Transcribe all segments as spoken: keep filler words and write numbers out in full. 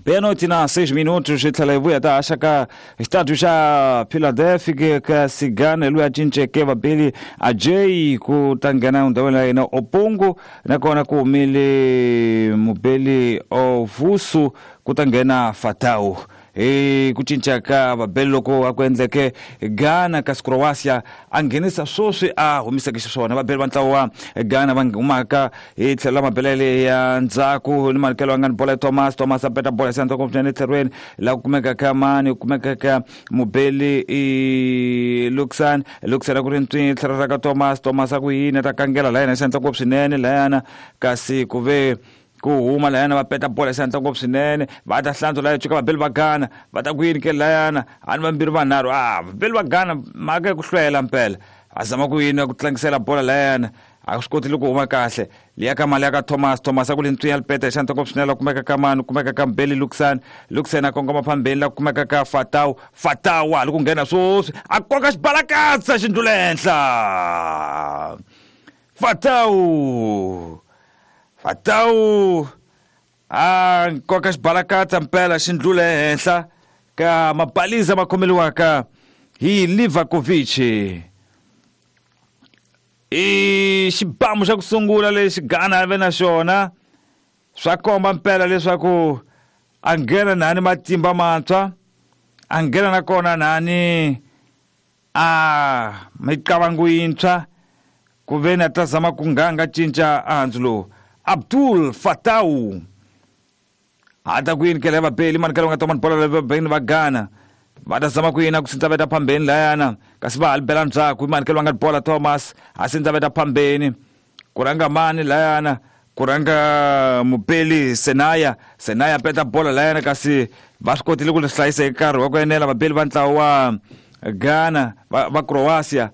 Meia-noite na seis minutos, tlhela hi vuya ta haxa ka xitatu xa Philadelphia ka Sigana loyi a cinceke vabeli Ajay ku ta nghena ndhawini ya yena Opungu nakona ku humile mubeli Ovusu ku ta nghena Fatau. Hi ku cinca ka vabeli loko a ku endleke Ghana kasi Croatia a nghenisa swoswi a humiseke xiswona. Vabeli va ntlawa wa Ghana va humaka hi tlhelo la mabelele ya ndzhaku ni manikelo ya nga ni bola ya Thomas. Thomas a peta bola ya ndzhaku swinene etlhelweni laha ku kumeka ka mani ku kumeka ka mubeli i Luxan. Luxan a ku ri ntswini tlhelo ra ka Thomas. Thomas a ku yini a ta kangela la yena xandla swinene layana kasi ku ve ku huma layana va peta bola xandla ngopfu swinene va ta hlantswa laya cuka vabeli va Ghana va ta ku yini ke layana a ni vambirhi vanharhu a vabeli va Ghana mhaka ya ku hlwela mpela a zama ku yini ku tlangisela bola layana a swi kotile ku huma kahle liya ka mali ya ka Thomas. Thomas a ku li ntswinya lipeta hi xandla ngopfu swinene la kumeka ka mani kumeka ka Mbeli Luxan. Luxan a kongoma phambeni la kumeka ka Fatau. Fatau a li ku nghena swoswi a koka xibalakatsa xindlula henhla. Fatau Fatau a nkoka xibalakatsa mpela xindlula ehenhla ka mabaliza ma khomeliwaka hi Livakovic. I xibamu xa ku sungula lexi Ghana a ve na xona swa komba mpela leswaku a nghena nani matimba mantshwa a nghena nakona nani a micavango yintshwa ku ve ni a ta zama ku nganga cinca handzu lowu. Abdul Fatau ata ku yini kele vabeli manikelo nga tomani bola vabeli va Ghana va ta zama ku yini ku sindza veta phambeni layana kasi va halibela ndzhaku manikelo nga bola Thomas a sindza veta phambeni ku rhanga mani layana ku rhanga mubeli Senaya. Senaya peta bola layana kasi va swi kotile ku li hlayisa hi nkarhi wa ku enela vabeli va ntlawa wa Ghana va, va Croatia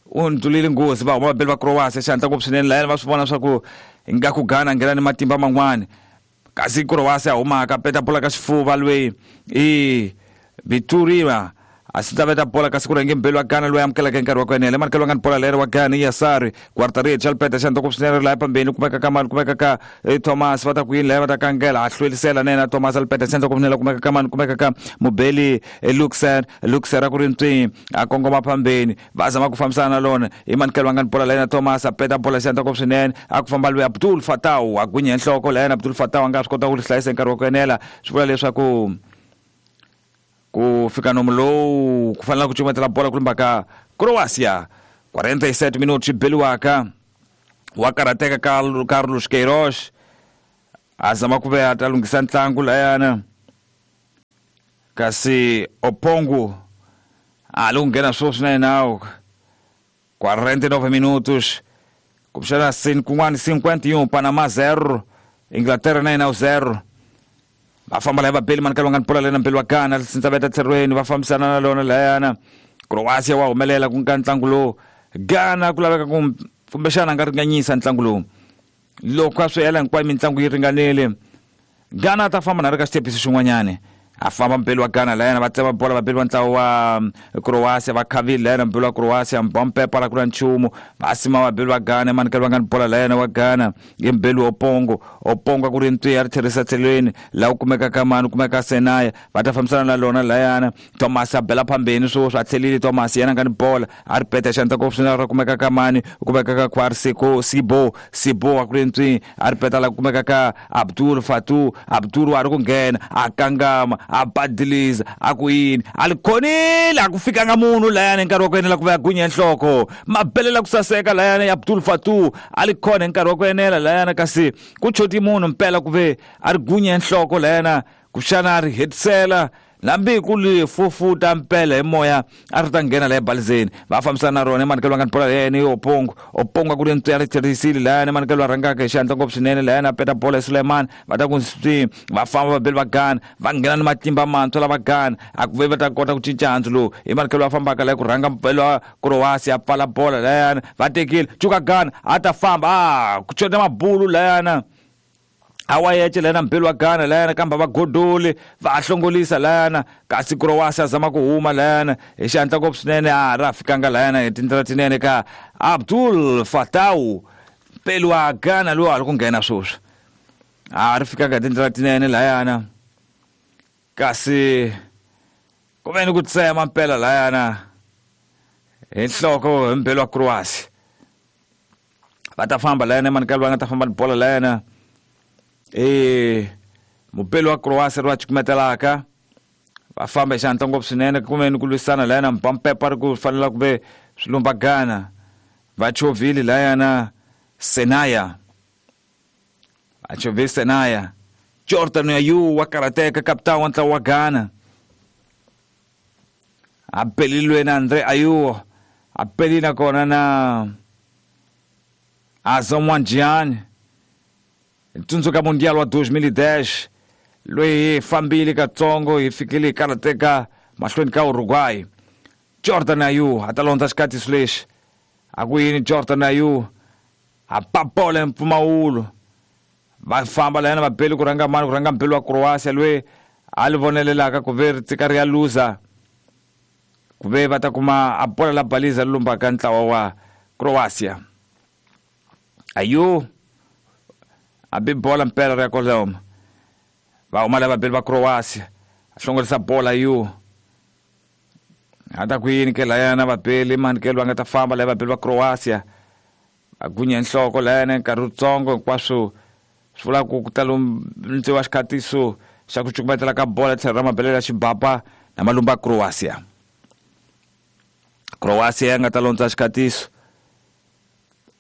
u ndlulile nghozi va huma vabeli va Croatia xandla ngopfu swinene layana va swi vona swa ku ingaku Ghana nghena ni matimba man'wani kasi Croatia humaka peta bola ka xifuva lweyi i Bituriwa a sindza veta bola kasi ku rhange mbeli wa Ghana loyi amukelaka hi nkarhi wa ku enela manikelo nga ni bola leri wa Ghana Yasari Quartarich alipeta xandla ngopfu swinene laya phambeni kumeka ka mani kumeka ka Thomas va ta ku yini laya va ta kangela a hlwelisela na yena Thomas alipeta xandla ngopfu swinene kumeka ka mani kumeka ka mubeli Luxer. Luxer a ku ri ntswini a kongoma phambeni va zama ku fambisana na lona hi manikelo nga ni bola layena Thomas a peta bola xandla ngopfu swinene a ku famba loyi Abdul Fatau a gwinya nhloko layena Abdul Fatau a nga swi kota ku ri hlayisa hi nkarhi wa ku enela swi vula leswaku ku fika nomu lowu ku fanele ku cukumetela bola ku lumba ka Croatia. quarenta e sete minutos beliwaka wa karhateka Carlos Queiroz a zama ku ve a ta lunghisa ntlangu layana kasi Opongu a li ku nghena swoswi na yena quarenta e nove minutos kumbexana kun'wani cinquenta e um Panama zero Inglaterra na yena zero. Va famba laya vabeli manikelo nga ni bola lena mbeli wa Ghana sindza veta tlherweni va fambisana na lona layana Croatia wa humelela ku nga ntlangu lowu Ghana ku laveka ku kumbexana a nga ringanyisa ntlangu lowu loko a swi hela hinkwayo mitlangu yi ringanile Ghana a ta famba na ri ka xitepisi xin'wanyani a famba mbeli wa Ghana layana va tsema bola vabeli va ntlawa wa Croatia va khavile layana mbeli wa Croatia mbompepa la ku na nchumu va sima vabeli va Ghana manikelo va nga ni bola layana wa Ghana i mbeli Opongo. Opongo a ku ri ntwi a ri tlherisa tlhelweni laha ku kumeka ka mani ku kumeka Senaya va ta fambisana na lona layana Thomas a bela phambeni swoswi a tlhelile Thomas yena nga ni bola a ri peta xandla ngopfu swinene ra kumeka ka mani ku kumeka ka Kwarsico Sibo. Sibo a ku ri ntwi a ri peta la ku kumeka ka Abdul Fatu. Abdul wa ri ku nghena a kangama a badiliza a ku yini a li khonile a ku fikanga munhu layani hi nkarhi wa ku enela ku va ya gunya nhloko mabelela ku saseka layani Abdul Fatu a li khona hi nkarhi wa ku enela layana kasi ku choti munhu mpela ku ve a ri gunya nhloko layana kuxana a ri hetisela nambi ku li fufuta mpela hi moya a ri ta nghena laha ebalizeni va fambisana na rona emanikelo va nga ni bola yena i Opongo. Opongo a ku ri ntswi a ri tlherisile layani emanikelo va rhangaka hi xandla ngopfu swinene layani a peta bola hi Suleiman va ta ku swi va famba vabeli va Ghana va nghena ni matimba mantshwa lava Ghana a ku ve va ta kota ku cinca handzu lowu emanikelo va fambaka laya ku rhanga mpela wa Croatia a pfala bola layana va tekile cuka Ghana a ta famba a ku chota mabulu layana a wa yece layana mbeli wa Ghana layana kambe va godoli va hlongolisa layana kasi Croatia a zama ku huma layana hi xandla ngopfu swinene a ra fikanga layana hi tindlela tinene ka Abdul Fatau mpeli wa Ghana lowu a ri ku nghena swoswi a ri fikanga hi tindlela tinene layana. Kasi ku ve ni ku tsema mpela layana hi nhloko hi mbelo wa Croatia. Va ta famba layana emanikelo va nga ta famba ni bola layana e mupelo wa Croatia ri va cukumetelaka va famba hi xihatla ngopfu swinene kumbe ni ku lwisana layana mpampepa ri ku fanela ku ve swilumba Ghana va chovhile layana Senaya va chovhile Senaya Jordan Ayew wa karateka kapitani wa ntlawa wa Ghana a pelilwe na Andre Ayew a pelile nakona na Asamoah Gyan tsundzuka Mundial wa dois mil e dez loyi hi fambile katsongo hi fikile hi karateka mahlweni ka Uruguay. Jordan Ayew a ta londza xikatiso lexi a ku yini Jordan Ayew a papola mpfumawulo va famba layana va beli ku rhanga mani ku rhanga mbeli wa Croatia loyi a li vonelelaka ku ve ri tsika ri ya luza ku ve va ta kuma a bola la baliza lumbaka ntlawa wa Croatia. Ayew a bi bola mpela ri ya koloma va huma lava beli va Croatia a hlongorisa bola Ayew a ta ku yini ke layana vabeli manikelo va nga ta famba lava vabeli va Croatia va gunya nhloko layana nkarhi wutsongo hinkwaswo swi vula ku ku ta lundziwa xikhatiso xa ku cukumetela ka bola tlhelo ra mabelelo ya xibapa na malumba ya Croatia. Croatia ya nga ta londza xikhatiso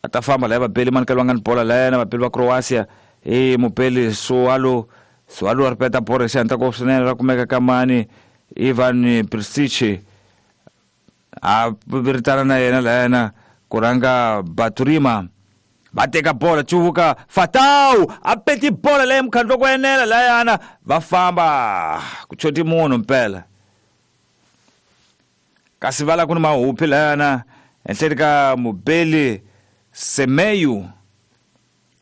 a ta famba laya vabeli manikelo va nga ni bola layana vabeli va Croatia i mubeli Sualo Sualo ri peta bola xihatla ngopfu swinene ra kumeka ka mani Ivan Perisic a viritana na yena layana ku rhanga Baturima va teka bola cuvuka Fatau a peti bola leyi mukhandlo ku enela layana va famba ku choti munhu mpela kasi va la ku ni mahuphi layana henhleni ka mubeli Semeyu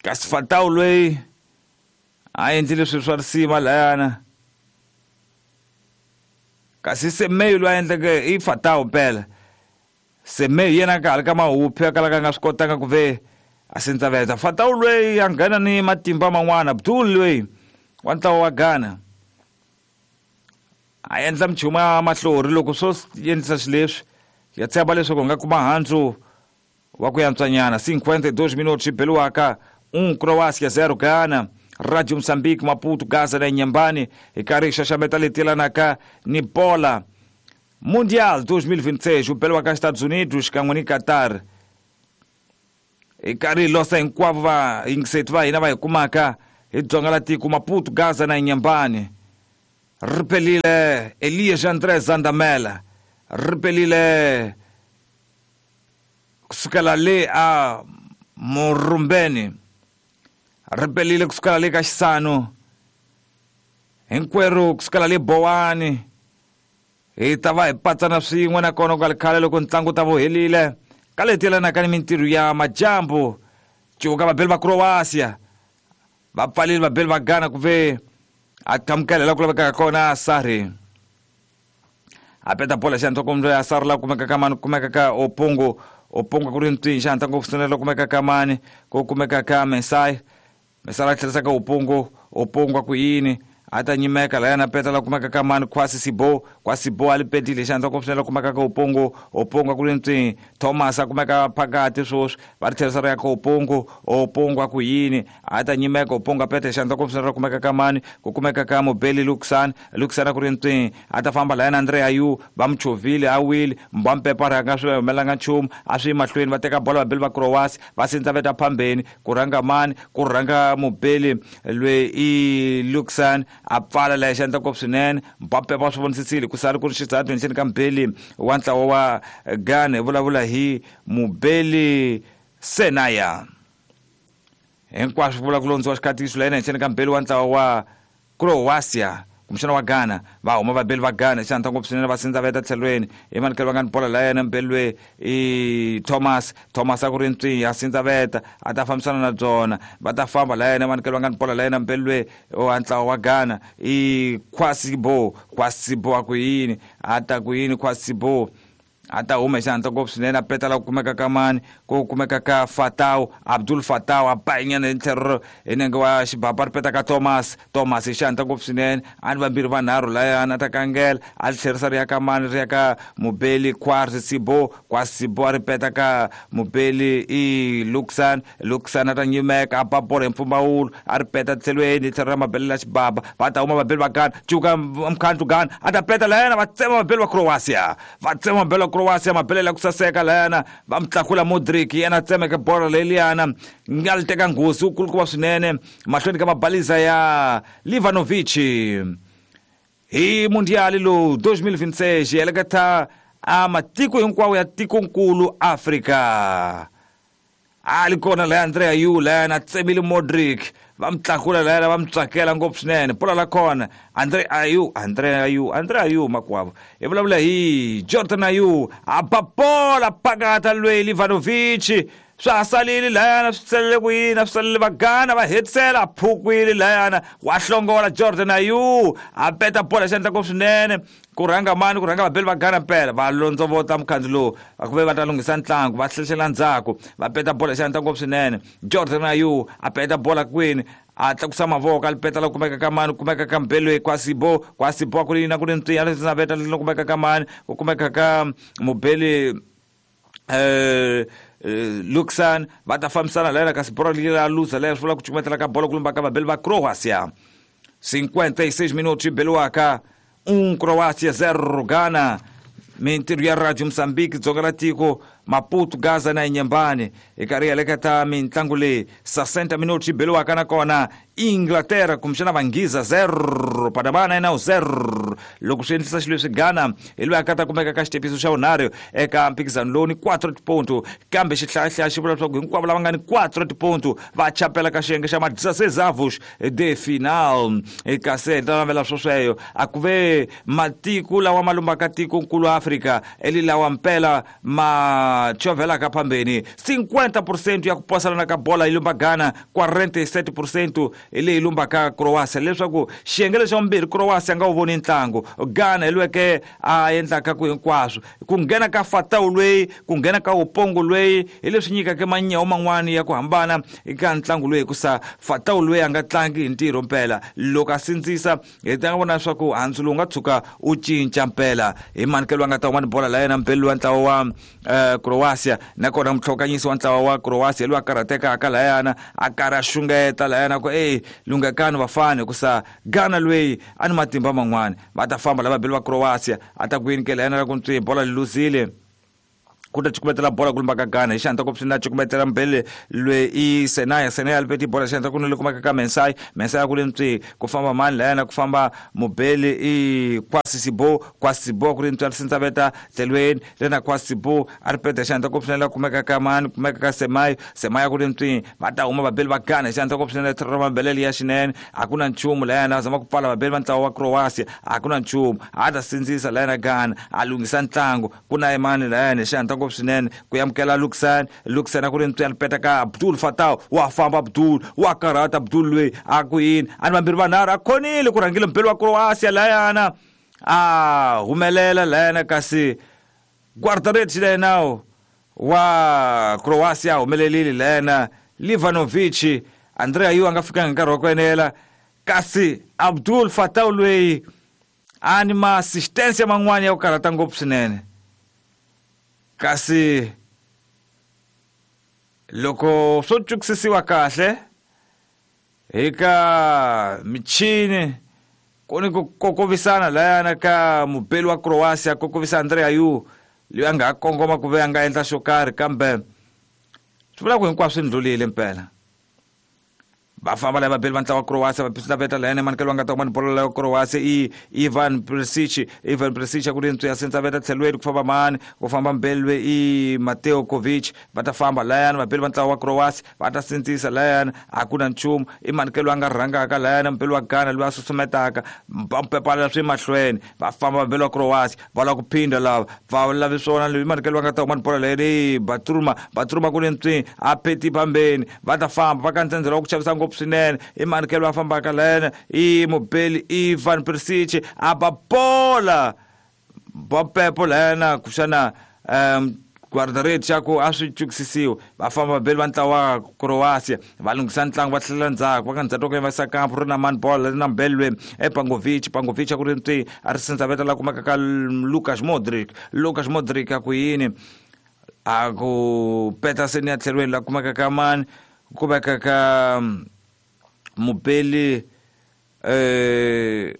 kasi Fatau loyi a endlile swilo swa risima layana kasi Semeyu loyi a endleke i Fatau mpela Semeyu yena ka ri ka mahuphi a kalaka a nga swi kotanga ku ve a sindzaveta Fatau loyi a nghena ni matimba man'wana Abdul loyi wa ntlawa wa Ghana a endla minchumu ya mahlori loko swo endlisa xileswi ya tshemba leswaku hi nga kuma handzu wa ku yantswanyana. cinquenta e dois minutos xi beliwaka um Croácia zero Ghana. Radio Moçambique Maputo Gaza na Inhambane hi karhi hi xaxameta leti yelanaka ni bola Mundial dois mil e vinte e seis wu beliwaka Estados Unidos xikan'we ni Qatar. Hi karhi hi losa hinkwavo va yingiseti va hina va hi kumaka hi dzonga la tiko Maputo Gaza na Inhambane. Ri pelile Elias André Zandamela ri pelile kusukela le a Murumbeni ri pelile kusukela le ka Xisano hinkwerhu kusukela le Bowani hi ta va hi patsana swin'we nakona ku nga ri khale loko ntlangu ta wu helile ka leti yelanaka ni mintirho ya majambu cuvuka vabeli va Croatia va pfalile vabeli va Ghana ku ve a qhamukela la ku lavekaka kona Sari a peta bola xihatla kumbe ya Sari la kumeka ka mani kumeka ka Opungu Opungu ku ri ntwini xihatla ngopfu swinene la kumeka ka mani ku kumeka ka Mesai Mesai la tlherisa ka Opungu Opungu a ku yini a ta nyimeka layana peta la kumeka ka mani Kwasi Sibo Kwasi Sibo a li petile xihatla ngopfu swinene la kumeka ka Opungu Opungu a ku ri ntwini Thomas a kumeka phakati sweswi va ri tlherisa ri ya ka Opungu Opungu a ku yini a ta nyimeka Opungu a peta xihatla ngopfu swinene la kumeka ka mani ku kumeka ka Mobeli Luxan Luxan a ku ri ntwini a ta famba layana Andre Ayew va mu chovhile a wile Mbampepa ri nga swi humelanga nchumu a swi yi mahlweni va teka bola vabeli va Croatia va sindzaveta phambeni ku rhanga mani ku rhanga Mobeli loyi i Luxan a pfala laya xihatla ngopfu swinene Mbappe va swi vonisisile ku sala ku ri xizathu henhleni ka Mubeli wa ntlawa wa Ghana hi vulavula hi Mubeli Senaya hinkwaswo vula ku londziwa xikhatiso layena henhleni ka Mubeli wa ntlawa wa Croatia kumbexana wa Ghana va huma vabeli va Ghana xihatla ngopfu swinene va sindzaveta tlhelweni hi manikelo va nga ni bola layena Mubeli loyi i Thomas Thomas a ku ri ntwini a sindzaveta a ta fambisana na byona va ta famba layena manikelo va nga ni bola layena Mubeli loyi wa ntlawa wa Ghana i Kwasibo Kwasibo a ku yini a ta ku yini Kwasibo A ta huma hi xihatla ngopfu swinene a peta la ku kumeka ka mani ku kumeka ka Fatau Abdul Fatau a ba nyana hi tlhelo hi nenge wa xibaba ri peta ka Thomas Thomas hi xihatla ngopfu swinene a ni vambirhi vanharhu layana a ta kangela a tlherisa ri ya ka mani ri ya ka Mubeli Kwasi Sibo Kwasi Sibo a ri peta ka Mubeli i Luxan Luxan a ta nyimeka a ba bolo hi mpfumawulo a ri peta tlhelweni hi tlhelo ra mabele la xibaba va ta huma vabeli va Ghana cuka mkhandlu Ghana a ta peta layana va tsema vabeli va Croatia va tsema vabeli va Croatia mabele la ku saseka layana va mtlakula Modric yena tsemeke bolo leliyana nga li teka nghozi wu kulukumba swinene mahlweni ka mabaliza ya Livanovic hi mundiali lowu dois mil e vinte e seis heleketa a matiko hinkwawo ya tikonkulu Afrika a li kona laya Andrea Yu layana tsemile Modric va mtlakula layana va mtsakela ngopfu swinene bola la kona Andre Ayew Andre Ayew Andre Ayew makwavo hi vulavula hi Jordan Ayew a ba bola phakata lweyi Livanovic swa ha salile layana swi salele ku yini a swi salele va Ghana va hetisela a phukwile layana wa hlongola Jordan Ayew a peta bola xi endla ngopfu swinene ku rhanga mani ku rhanga vabeli va Ghana mpela va londzovota mukhandzu lowu va ku ve va ta lunghisa ntlangu va tlhelela ndzhaku va peta bola xi endla ngopfu swinene Jordan Ayew a peta bola kwini a tlakusa mavoko a li peta la kumeka ka mani kumeka ka Mbelwe Kwasibo Kwasibo ku ri na ku ri ntiya leswi na veta la kumeka ka mani ku kumeka ka Mubeli eh Luxan va ta fambisana layana kasi bolo la luza leyi swi vula ku cukumetela ka bolo ku lumba ka vabeli va Croatia cinquenta e seis minutos beliwaka um Croácia zero Ghana mintirho ya Radio Moçambique dzonga ra tiko Maputo Gaza na Inhambane hi karhi heleketa mintlangu leyi sessenta minutos beliwaka nakona Inglaterra kumbexana Vanghiza zero Panama na yena zero loko swi endlisa xilo leswi Ghana hi loyi a ka ta kumeka ka xitepiso xa vunharhu eka mphikizano lowu ni quatro tiponto kambe xihlayahlaya xi vula leswaku hinkwavo lava nga ni quatro tiponto va chapela ka xiyenge xa ma dezesseis avos de final kasi hi ta navela swosweyo a ku ve matiko lawa ma lumbaka tikonkulu Afrika eli lawa mpela ma chovelaka phambeni cinquenta por cento ya ku posalana ka bola yi lumba Ghana quarenta e sete por cento hi leyi lumbaka Croatia leswaku xiyenge lexa vumbirhi Croatia nga wu voni ntlangu Ghana hi lweke a endlaka ku hinkwaswo ku nghena ka Fatau lweyi ku nghena ka Upongo lweyi hi leswi nyikaka manyawo man'wani ya ku hambana eka ntlangu loyi hikusa Fatau lweyi a nga tlangi hi ntirho mpela loko a sindzisa hi ta vona leswaku handzu lowu nga tshuka u cinca mpela hi manikelo a nga ta huma ni bola la yena mpeli wa ntlawa wa Croatia nakona mutlhokanyisi wa ntlawa wa Croatia loyi a karhatekaka layana a karhi a xungeta layana ku ey lunghekani vafani hikusa Ghana lweyi a ni matimba man'wani va ta famba lava beli va Croatia a ta ku yini ke layana ra ku ntswi bola li luzile ku ta cukumetela bola ku lumba ka Ghana hi xihatla ngopfu swinene a cukumetela mbele lweyi i Senaya Senaya a lipeti bola xihatla ku ni le kumeka ka Mensai Mensai a ku ri ntswi ku famba mani layana ku famba Mubeli i Kwasi Sibo Kwasi Sibo ku ri ntswi a ri sindzaveta tlhelweni lena Kwasi Sibo a ri peta xihatla ngopfu swinene la kumeka ka mani kumeka ka Semai Semai a ku ri ntswi va ta huma vabeli va Ghana hi xihatla ngopfu swinene tlhelo ra mabelele ya xinene a ku na nchumu layana a zama ku pfala vabeli va ntlawa wa Croatia a ku na nchumu a ta sindzisa layana Ghana a lunghisa ntlangu ku na mani layana hi xihatla ngopfu swinene ku amukela Luxan Luxan a ku ri ntswi a ri peta ka Abdul Fatau wa famba Abdul wa karhata Abdul lweyi a ku yini a ni vambirhi vanharhu a khonile ku rhangile mpeli wa Croatia layana a humelela layana kasi guarda-redes layena wa Croatia a humelelile layana Livanovic Andrea Ayew a nga fikanga nkarhi wa ku enela kasi Abdul Fatau lweyi a ni ma-assistance man'wani ya ku karhata ngopfu swinene kasi loko swo tsukisisiwa kahle eka michini ku ni ku kokovisana layana ka mubeli wa Croatia kokovisa Andrea Ayew loyi a nga ha kongoma ku ve a nga endla xo karhi kambe swi vula ku hinkwaswo swi ndlulile mpela va famba lava vabeli va ntlawa wa Croatia va pisita veta layana manikelo va nga ta kuma ni bolo la Croatia i Ivan Perisic Ivan Perisic a ku ri ntswi ya sintsa veta tlhelweni ku famba mani ku famba mbelwe i Mateo Kovic va ta famba layana vabeli va ntlawa wa Croatia va ta sindzisa layana a ku na nchumu i manikelo a nga rhangaka layana mbeli wa Ghana loyi a susumetaka va pepala swi mahlweni va famba vabeli wa Croatia va lava ku phinda lava va lavi swona loyi manikelo va nga ta kuma ni bolo layani Batruma Batruma ku ri ntswi a pheti phambeni va ta famba va ka ntsendzelo wa ku chavisa ngopfu swinene i manikelo va fambaka layena i mubeli Ivan Perisic a ba bola ba pepo layena kuxana um guarda-redes xa ku a swi chukisisiwe va famba vabeli va ntlawa wa Croatia va lunghisa ntlangu va tlhela ndzhaku va ka ndzhaku ka va kampo ri na man ball ri na mbeli loyi e Pangovic Pangovic a ku ri ntwi a ri sindzaveta la kumeka ka Lukas Modric Lukas Modric a ku yini a ku Petersen ya tlhelweni la kumeka ka mani kumeka ka mubeli eh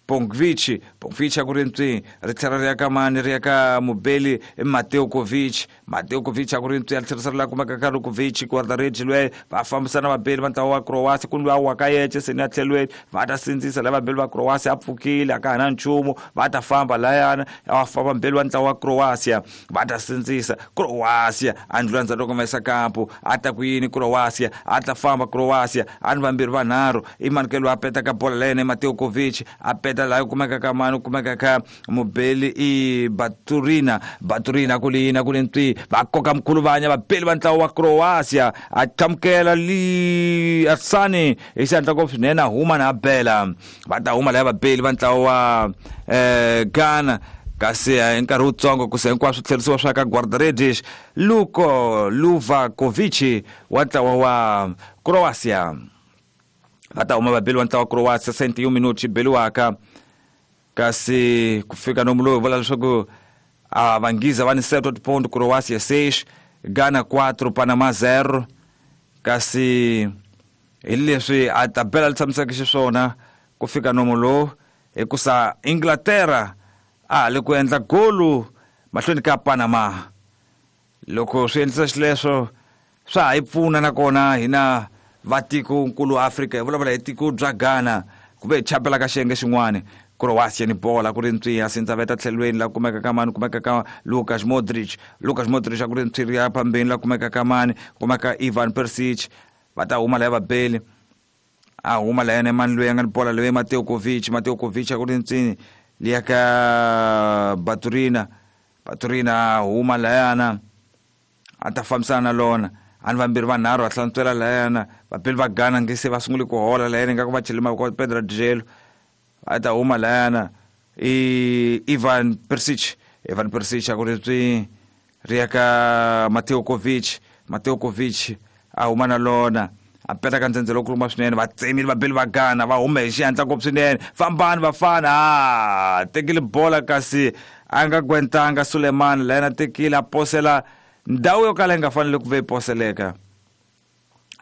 Pongvic Pongvic a ku ri ntwi ri tlhela ri ya ka mani ri ya ka mubeli Mateo Kovic Mateo Kovic a ku ri ntwi a tlherisa ri la kumeka ka Lukovic guarda-redes loyi va fambisana vabeli va ntlawa wa Croatia ku luya wa ka yece seni ya tlhelweni va ta sindzisa la vabeli va Croatia a pfukile a ka ha na nchumu va ta famba layana a famba mbeli wa ntlawa wa Croatia va ta sindzisa Croatia a ndlula ndzhaku loko va yisa kampo a ta ku yini Croatia a ta famba Croatia a ni vambirhi vanharhu i manikelo a peta ka bola la yena Mateo Kovic a peta la kumeka ka mani kumeka ka mubeli i Baturina Baturina ku lina ku ntwi va koka mkhuluvanya vabeli va ntlawa wa Croatia a qhamukela li Arsani hi xandla ko swinene a huma na bela va ta huma la vabeli va ntlawa wa eh Ghana kasi hi nkarhi wutsongo ku se hinkwaswo tlherisiwa swa ka guarda-redes Luko Luvakovic wa ntlawa wa Croatia va ta huma vabeli va ntlawa wa Croatia sesenta e um minutos beliwaka kasi ku fika nomu lowu vula leswaku a vangiza va ni sete ponto Croatia seis Ghana quatro Panama zero kasi hi leswi a tabela li tshamiseke xiswona ku fika nomu lowu hikusa Inglaterra a le ku endla golu mahlweni ka Panama loko swi endlisa xileswo swa ha yi pfuna nakona hina vatikonkulu Afrika hi vulavula hi tiko bya Ghana kumbe hi chapela ka xiyenge xin'wana Croatia ni bola ku ri ntwi a sindzaveta tlhelweni la kumeka ka mani kumeka ka Lukas Modric Lukas Modric a ku ri ntwi ri ya phambeni la kumeka ka mani kumeka Ivan Perisic va ta huma laya vabeli a huma la yena mani loyi a nga ni bola loyi Mateo Kovic Mateo Kovic a ku ri ntwi liya ka Baturina Baturina a huma layana a ta fambisana na lona a ni vambirhi vanharhu va hlantswela layana vabeli va Ghana nge se va sungule ku hola layana ingaku va chele mavoko Pedro Dijelo a ta huma layana i Ivan Perisic Ivan Perisic a ku ri swi ri ya ka Mateo Kovic Mateo Kovic a huma na lona a peta ka ndzhendzelo kuluma swinene va tsemile vabeli va Ghana va hume hi xihatla ngopfu swinene fambani vafana a tekile bola kasi a nga gwentanga Suleiman layana tekile a posela ndhawu yo kala yi nga fanele ku ve yi poseleka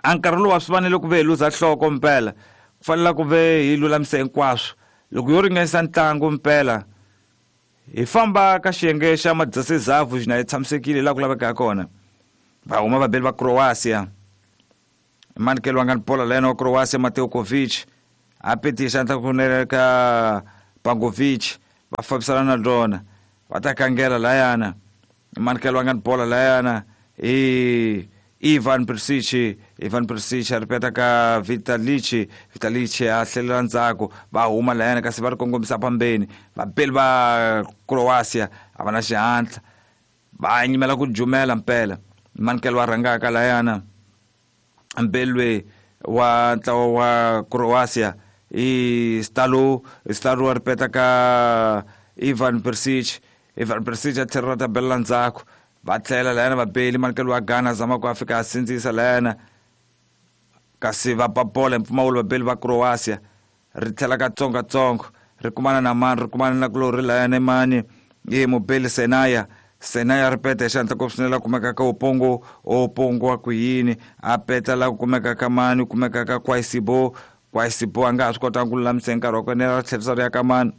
a nkarhi lowu a swi fanele ku ve hi luza nhloko mpela ku fanele ku ve hi lulamisa hinkwaswo loko yo ringanisa ntlangu mpela hi famba ka xiyenge xa madzasezavhu xina hi tshamisekile laha ku lavekaka kona va huma vabeli va Croatia manikelo wa nga ni bola layena wa Croatia Mateo Kovic a petisa xandla kunene ka Pangovic va fambisana na rona va ta kangela layana manikelo wa nga ni bola layana i Ivan Perisic Ivan Perisic a ripeta ka Vitalic Vitalic a hlelela ndzhaku va huma layana kasi va ri kongomisa phambeni vabeli va Croatia a va na xihatla va nyimela ku jumela mpela manikelo wa rhangaka layana mbelwe wa ntlawa wa Croatia i Stalo Stalo a ripeta ka Ivan Perisic Ivan Perisic a tlhelela ta bela ndzhaku va tlhela layana vabeli manikelo wa Ghana zama ku a fika a sindzisa layana kasi va ba bola hi mpfumawulo vabeli va Croatia ri tlhela katsongokatsongo ri kumana na mani ri kumana na kulori layana mani i mubeli Senaya Senaya ri peta hi xihatla ngopfu swinene la kumeka ka Opongo Opongo a ku yini a peta la kumeka ka mani kumeka ka Kwaisibo Kwaisibo a nga ha swi kotanga ku lulamisa hi nkarhi wa kona ri tlherisa ri ya ka mani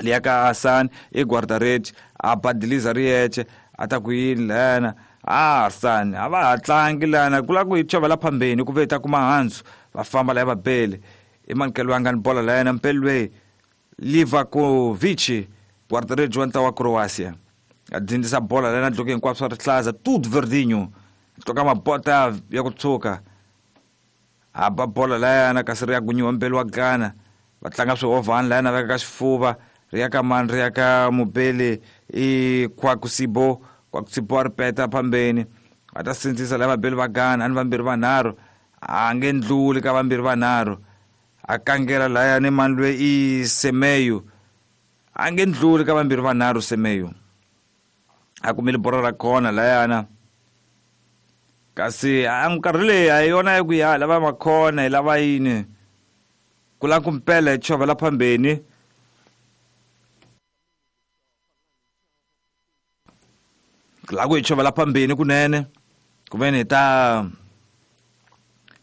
liya ka Hassan i guarda-redes a badiliza ri yexe a ta ku yini layana a Hassan a va ha tlangi lana ku lava ku hi chovela phambeni ku ve hi ta kuma handzu va famba laya vabeli i manikelo wa nga ni bola layana mpeli loyi Livakovic guarda-redes wa ntlawa wa Croatia a dzindzisa bola layana dloke hinkwaswo swa rihlaza tudo verdinho tloka mabota ya ku tshuka a ba bola layana kasi ri ya gunyiwa mbeli wa Ghana va tlanga swihovhani layana veka ka xifuva ri ya ka mani ri ya ka mubeli i Kwakusibo Kwakusibo a ri peta phambeni va ta sindzisa laya vabeli va Ghana a ni vambirhi vanharhu a nge ndluli ka vambirhi vanharhu a kangela layani mani loyi i Semeyo a nge ndluli ka vambirhi vanharhu Semeyo A kumile bolo ra khona layana. Kasi a nkarhi leyi a yona ya ku ya lava makhona hi lava yini ku lava ku mpela hi chovela phambeni. Ku lava ku hi chovela phambeni kunene ku ve ni hi ta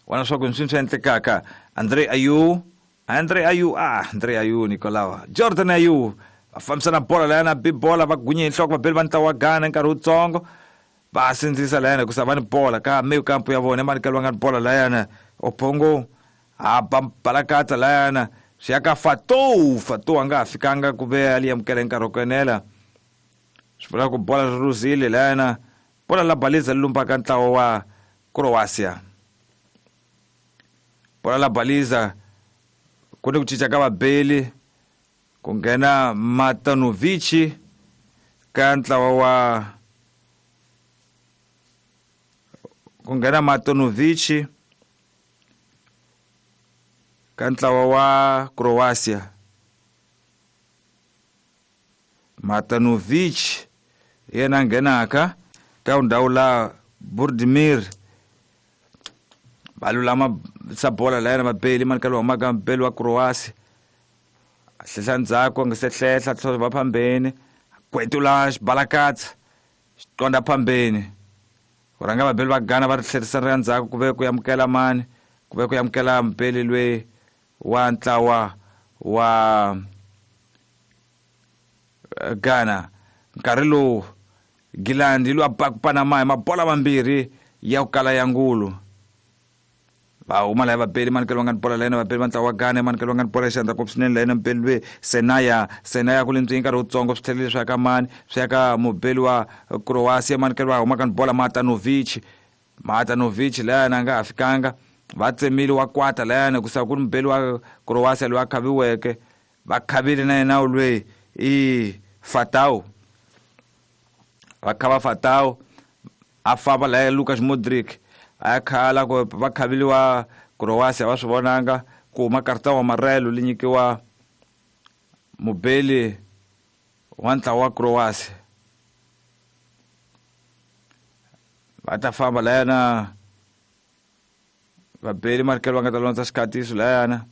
vona swa ku swi swi endlekaka. Andre Ayew, Andre Ayew, ah Andre Ayew Nicolau, Jordan Ayew va fambisana bola layana bi bola va gunye hi nhloko vabeli va ntlawa wa Ghana nkarhi wutsongo. Va sindzisa layana ku va ni bola ka meyo kampo ya vona emanikelo va nga ni bola layana Opongo a ba balakatsa layana swi ya ka Fatou. Fatou a nga ha fikanga ku ve a li amukela hi nkarhi wo kenela. Swi vula ku bola ri luzile layana bola la baliza li lumbaka ntlawa wa Croatia. Bola la baliza ku ni ku cinca ka vabeli ku nghena Matanovic ka ntlawa wa ku nghena Matanovic ka ntlawa wa Croatia. Matanovic yena nghenaka ka ndhawu la Budimir va lulama sa bola layana vabeli manikelo humaka mbeli wa Croatia. A hlehla ndzhaku a nga se hlehla tlhelo va phambeni kwetula xibalakatsa xi qonda phambeni. Ku rhanga vabeli va Ghana va ri tlherisela ndzhaku ku ve ku amukela mani ku ve ku amukela mbeli lweyi wa ntlawa wa Ghana. Nkarhi lowu Gilandi loyi a baka Panama hi mabola mambirhi ya ku kala ya ngulu. Va huma laya vabeli manikelo va nga ni bola layena vabeli va ntlawa wa Ghana manikelo va nga ni bola xandla ngopfu swinene layena mubeli lweyi Senaya. Senaya ku le nkarhi wutsongo swi tlhelele swi ya ka mani swi ya ka mubeli wa Croatia manikelo va humaka ni bola Matanovic. Matanovic layana a nga ha fikanga va tsemile wa kwata layana ku sa ku ri mubeli wa Croatia loyi a khaviweke va khavile na yena lweyi i Fatou. Va khava Fatou a famba laya Lukas Modric a ya khala ku va khaviliwa Croatia va swi vonanga ku huma karta wa marelo li nyikiwa mubeli wa ntlawa wa Croatia. Va ta famba layana vabeli manikelo va nga ta londza xikhatiso layana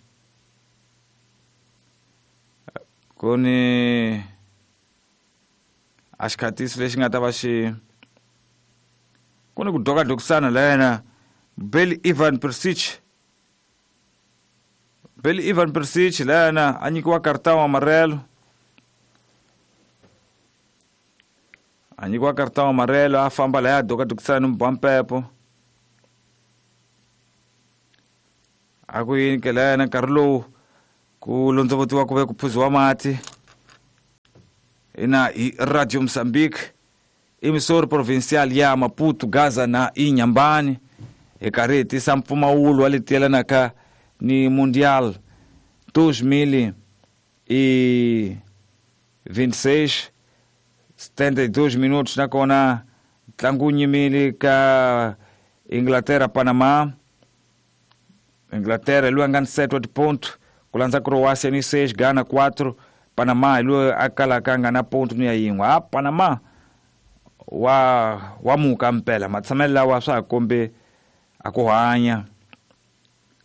ku ni a xikhatiso lexi nga ta va xi ku ni ku dokadokisana layana Beli Ivan Perisic. Beli Ivan Perisic layana a nyikiwa karta wa amarelo a nyikiwa karta wa amarelo a famba laya dokadokisana ni mubampepo a ku yini ke layana nkarhi lowu ku londzovotiwa ku ve ku phuziwa mati ina hi Radio Mozambique emissora provincial ya Maputo, Gaza na Inhambane hi karhi hi tisa mpfumawulo wa leti yelanaka ni Mundial dois mil e vinte e seis setenta e dois minutos nakona ntlangu wu nyimile ka Inglaterra Panama. Inglaterra loyi a nga ni sete wa tiponto ku landza Croatia ni seis, Ghana quatro, Panama hi loyi a kalaka a nga na ponto ni ya yin'we. A Panama wa wa muka mpela matshamelo lawa swa ha kombi a ku hanya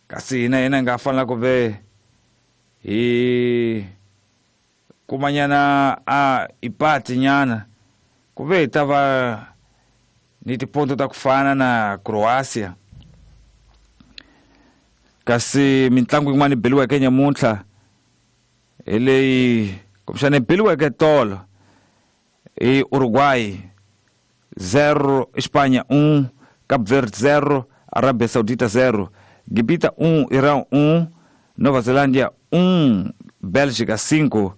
kasi hina hina hi nga fanela ku ve hi kumanyana a ipati nyana ku ve hi ta va ni tiponto ta ku fana na Croatia. Kasi mintlangu yin'wana yi beliweke nyamuntlha hi leyi kumbexana yi beliweke tolo i Uruguay zero, Espanha um, Cabo Verde zero, Arábia Saudita zero, Gibita um, Irã um, Nova Zelândia um, Bélgica cinco,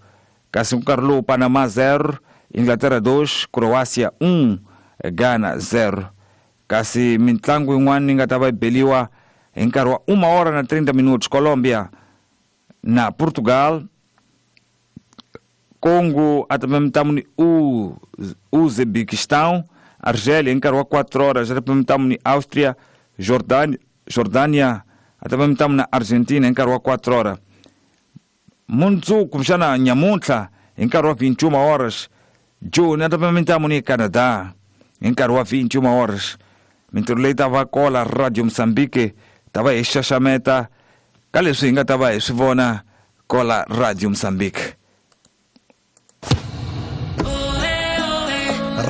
kasi nkarhi lowu Panama zero, Inglaterra dois, Croácia um, Ghana zero. Kasi mintlangu yin'wana yi nga ta va yi beliwa hi nkarhi wa uma hora na trinta minutos Colombia na Portugal, Congo até ni Uzbequistão, Argélia em nkarhi wa quatro horas até ni Áustria, Jordânia, Jordânia até na Argentina em nkarhi wa quatro horas. Mundzuku kumbexana nyamuntlha hi nkarhi wa vinte e uma horas June a ta pima mintamu ni Canada hi nkarhi wa vinte e uma horas. Mintirho leyi ta va kola Radio Moçambique ta va hi xaxameta ka leswi hi nga ta va hi swi vona kola Radio Moçambique.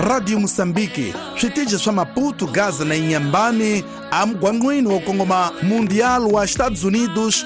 Radio Moçambique, switichi swa Maputo, Gaza na Inhambane, amugwangwini wo kongoma Mundial wa Estados Unidos,